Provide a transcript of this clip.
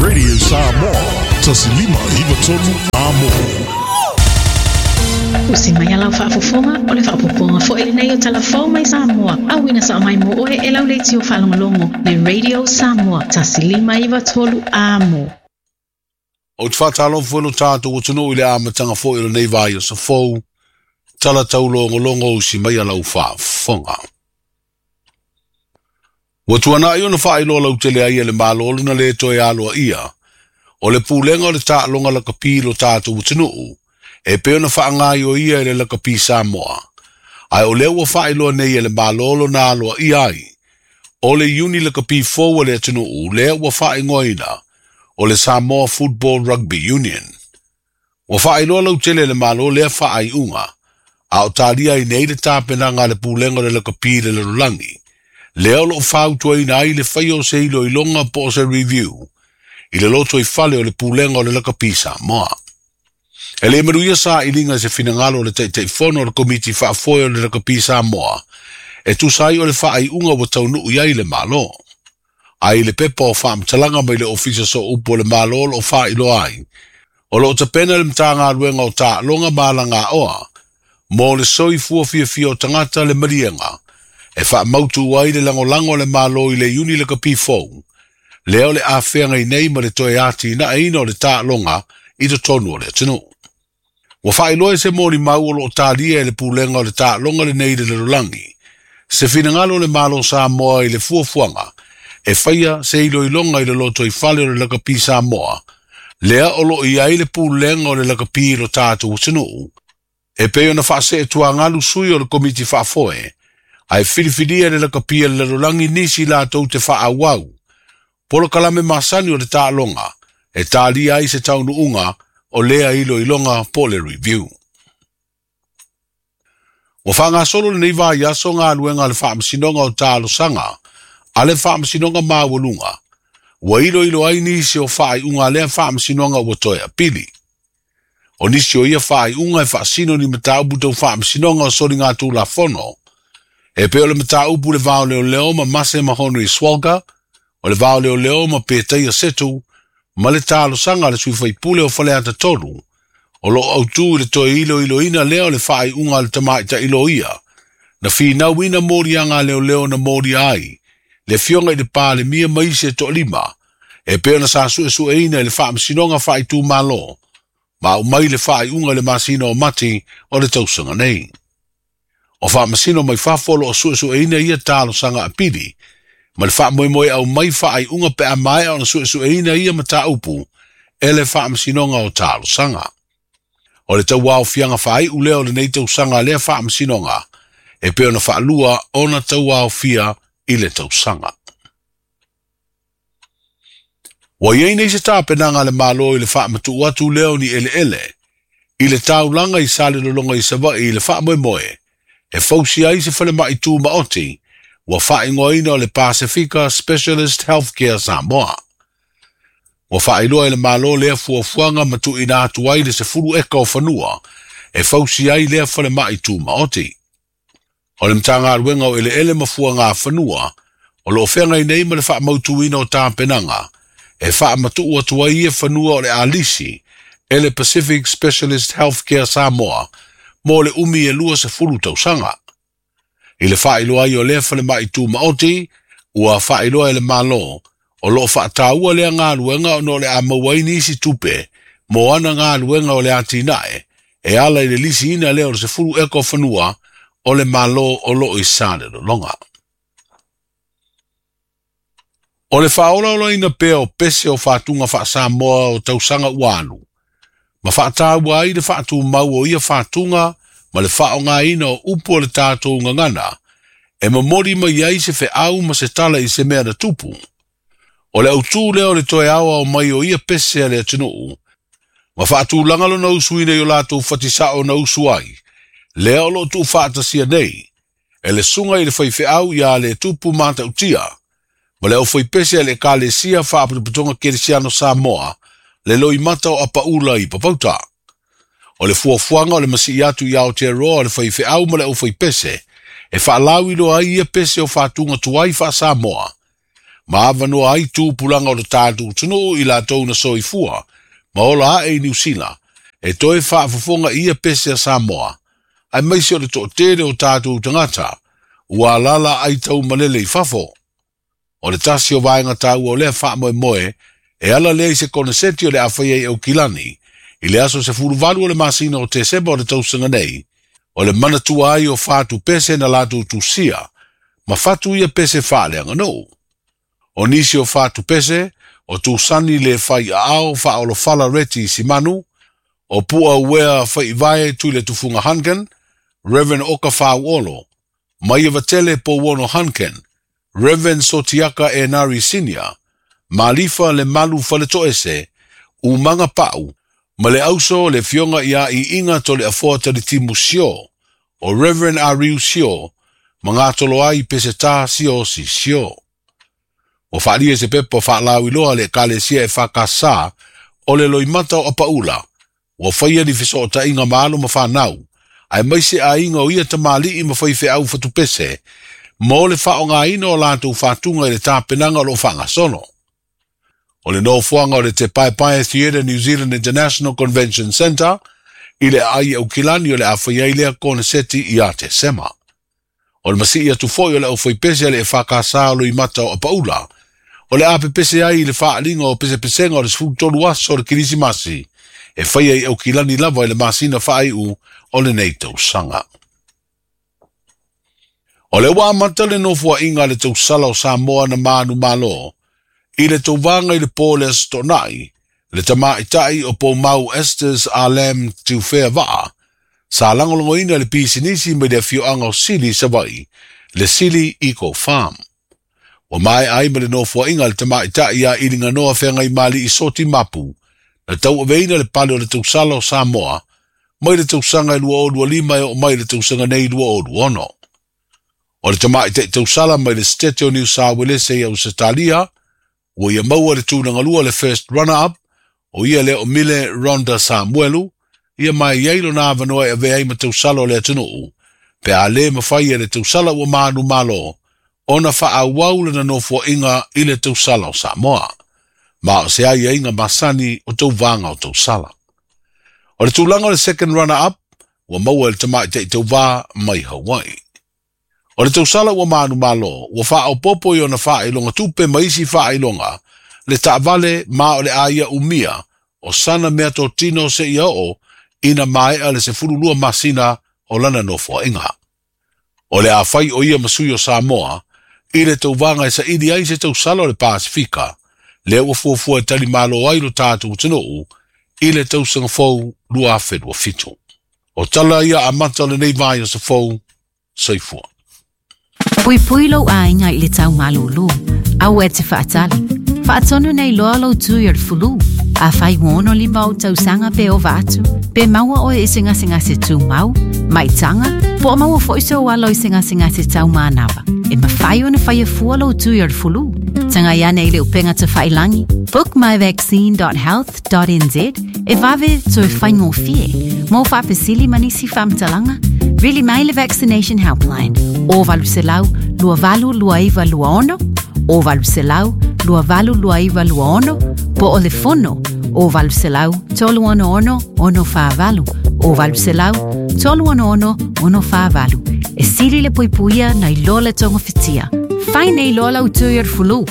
Radio Samoa, 1593 Amo. Usi mai a lau faafofoga, o le faaopoopoga foi lenei o Tala Fou mai Samoa, auina sao mai mo oe e lau leitio faalogologo le Radio Samoa 1593 Amo. Ou te faatalofa foi lo tatou atunuu i le amataga foi o lenei vaiaso fou, tala taulogologo usi mai a lau faafofoga. Ua tuanai ona faailoa lautele ai e le Malo lona le toe aloaia o le pulega o le taaloga lakapi i lo tatou atunuu e pei ona faagaioia e le Lakapi Samoa, ae o lea ua faailoa nei e le Malo lona aloaia ai o le iuni lakapi fou a le atunuu lea ua faaigoaina o le Samoa Football Rugby Union. Ua faailoa lautele e le Malo lea faaiuga, a o talia ai nei le tapenaga a le Pulega o le Lakapi i le Lalolagi, lea o lo o fautuaina ai le faia o se iloiloga po o se review i le lotoifale o le Pulega o le Lakapi Samoa. E le manuia sailiga i se finagalo o le Taitaifono o le Komiti Faafoe o le Lakapi Samoa e tusa ai o le faaiuga ua taunuu i ai le Malo. Ae i le pepa o faamatalaga mai le Ofisa Sooupu o le Malo o lo o faailoa ai, o lo o tapena le Matagaluega o Taaloga ma Alagaoa mo le soifua fiafia o tagata le maliega e faamautu ai le lagolago a le Malo i le Iuni Lakapi fou, lea o le a feagai nei ma le toe atinaeina o le taaloga i totonu o le atunuu. Ua faailoa e se molimau o lo o talia e le Pulega o le Taaloga lenei i le lalolagi se finagalo o le Malo Samoa i le fuafuaga e faia se iloiloga i le lotoifale o le Lakapi Samoa, lea o lo o i ai le pulega o le lakapi i lo tatou atunuu, e pei ona faaseetuagalu sui o le Komiti Faafoe, ae filifilia e le lakapi a le lalolagi nisi latou te faaauau polokalame masani o le taaloga e talia ai se taunuuga o lea iloiloga po o le review. Ua faagasolo lenei vaiaso galuega a le Faamasinoga o Talosaga a le Faamasinoga Maualuga, ua iloilo ai nisi o faaiuga a lea Faamasinoga ua toe apili. O nisi o ia faaiuga e faasino ni mataupu tau faamasinoga o soligatulafono, e pei o le mataupu i le va o leoleo ma Mase Mahonri Swalga, o le va o leoleo ma Petaia Setu, ma le talosaga a le sui faipule o Faleata 3, o lo o autū i le toe iloiloina lea o le faaiuga a le tamaitai loia, na finauina moliaga a leoleo na molia ai le afioga i le Palemia ma isi e toalima, e pei ona sa suesueina i le Faamasinoga Faaitumalo, ma aumai le faaiuga i le masina o Mati o le tausaga nei. O faamasino mai fafo o lo o suesueina ia talosaga apili, ma le faamoemoe aumai faaiuga pe a maea ona suesueina ia mataupu e le Faamasinoga o Talosaga. O le tauaofiaga faaiu lea o lenei tausaga a lea Faamasinoga, e pei ona faalua ona tauaofia i le tausaga. Ua i ai nei se tapenaga a le Malo i le faamatuu atu lea o ni eleele i le taulaga i Salelologa i Savaii i le faamoemoe e fausia ai se falemai tumaoti ua faaigoaina o le Pasifika Specialist Healthcare Samoa. Ua faailoa e le Malo lea fuafuaga ma tuuina atu ai le 10 eka o fanua e fausia ai lea falemai tumaoti. O le Matagaluega o Eleele ma Fuaga Fanua o lo o feagai nei ma le faamautuina o tapenaga e faamatuu atu ai ia fanua o le a lisi e le Pacific Specialist Healthcare Samoa mo le umi e 20 tausaga. I le faailoa ai o lea falemai tumaoti, ua faailoa e le Malo o lo o faataua lea galuega ona o le a maua ai nisi tupe mo ana galuega o le atinae e ala i le lisiina lea o le 10 eka o fanua o le Malo o lo o i Salelologa. O le faaolaolaina pea o pese o faatuga faa-Samoa o tausaga ua alu, ma faataua ai le faatumau o ia faatuga ma le faaaogaina o upu o le tatou gagana, e momoli mai ai se feau ma se tala i se mea na tupu. O le autū lea o le toe aoao mai o ia pese a le atunuu, ma faatulaga lona usuina i o latou fatisao na usu ai, lea o lo o tuufaatasia nei, e le susuga i le faifeau ia le tupu matautia, ma le aufaipese a le Ekalesia Faapotopotoga Kerisiano Samoa, le loimata o Apaula i Papauta. O le fuafuaga o le masii atu i Aotearoa o le faifeau ma le aufaipese, e faalauiloa ai ia pese o faatuga tuai faa-Samoa, ma avanoa ai tupulaga o le tatou atunuu i latou na soifua ma ola ae i Niu Sila e toe faafofoga i ia pese a Samoa, aemaise o le toatele o tatou tagata ua alaala aitaumalele i fafo. O le tasi o vaega taua o lea faamoemoe e ala lea i se koneseti o le a faia i Aukilani i le aso 18 o le masina o Tesema o le tausaga nei, o le manatua ai o fatu pese na latou tusia, ma fatu ia pese faaleaganuu. O nisi o fatu pese, o Tusani le fai aao faaolofala Reti Simanu, o Pua Uea Faivae Tui Tufunga Hunkin, Reverend Oka Fauolo, Maia Vatele Pouono Hunkin, Reverend Sotiaka Enari Senior, Malifa le Malu Faletoese, Umanga Pau, ma le auso le fionga ia i inga to le afoa talitimu sio, o Reverend Ariu sio, ma ngā ai peseta sio si sio. O whaalia se pepa whaalauiloa le ekalesia e whakasa o le loimata o Apaula, ua faia ni fesootaiga ma alo ma fanau, aemaise aiga o ia tamalii ma faifeau fatupese, mo le faaaogaina o latou fatuga i le tapenaga o loo faagasolo. O le nofoaga o le Te Paepae Theatre New Zealand International Convention Centre i le aai Aukilani o le a faia ai lea koneseti ia Tesema. O le masii atu foi o le aufaipese a le EFKS o Loimata o Apaula, o le a pepese ai i le faaliga o pesepesega o le 13 aso o le Kerisimasi, e faia i Aukilani lava i le masina faaiu o lenei tausaga. O le ua amata le nofoaiga a le tausala o Samoa na manumalo, i le tauvaga i le po le Aso Toonai, le tamaitai o Poumau Estes Alam Tiufea Vaa, sa lagolagoina le pisinisi mai le afioaga o Sili Savaii, le Sili Eco Farm. Ua maea ai ma le nofoaiga a le tamaitai ia Iliganoa Feagaimali'i Soti Mapu, na tauaveina le pale o le tausala o Samoa, mai le tausaga e 2025 e oo mai le tausaga nei 2026. O le tamaitai tausala mai le Setete o Niu Sa Uelese i Ausetalia, ua ia maua le tulagalua le first runner-up, o ia lea o Mile Ronda Samuelu, ia ma e i ai lona avanoa e avea ai ma tausala o le atunuu, pe a lē mafai e le tausala ua manumalo ona faaauau lana nofoaiga i le tausala o Samoa. Ma o se aiaiga masani o tauvaga o tausala. O le tulaga o le second runner-up, ua maua e le tamaitai tauvā mai Hawaii. O le tausala ua manumalo, ua faaopoopo i ona faailoga tupe ma isi faailoga, le taavale ma o le a ia umia, o sana meatotino seia oo ina maea le 12 masina o lana nofoaiga. O le a fai o ia ma sui o Samoa, i le tauvaga e saili ai se tausala o le Pasifika, lea ua fuafua e talimalo ai lo tatou atunuu i le tausaga fou 2027. O tala ia amata o lenei vaiaso fou, soifua. Puipui lou aiga i le tau malūlū. Aua e te faatali. Faatonu nei loa lou tui o le fulu. Afai ua 65 ou tausaga pe ova atu, pe maua oe i se gasegase tumau, maitaga, po o maua foi sou alo i se gasegase taumanava, e mafai ona faia fua lou tui o le fulu. Tagai ane i le upega tafailagi bookmyvaccine.health.nz e vave toe faigofie. Mo faafesili ma nisi faamatalaga, vili mai le Vaccination Helpline o 800 2829 26 o 800 2829 26 po o le fono o 800 366 648 o 800 366 648. E sili le puipuia nai lo le togafitia. Fai nei loa lau tui o le fulu.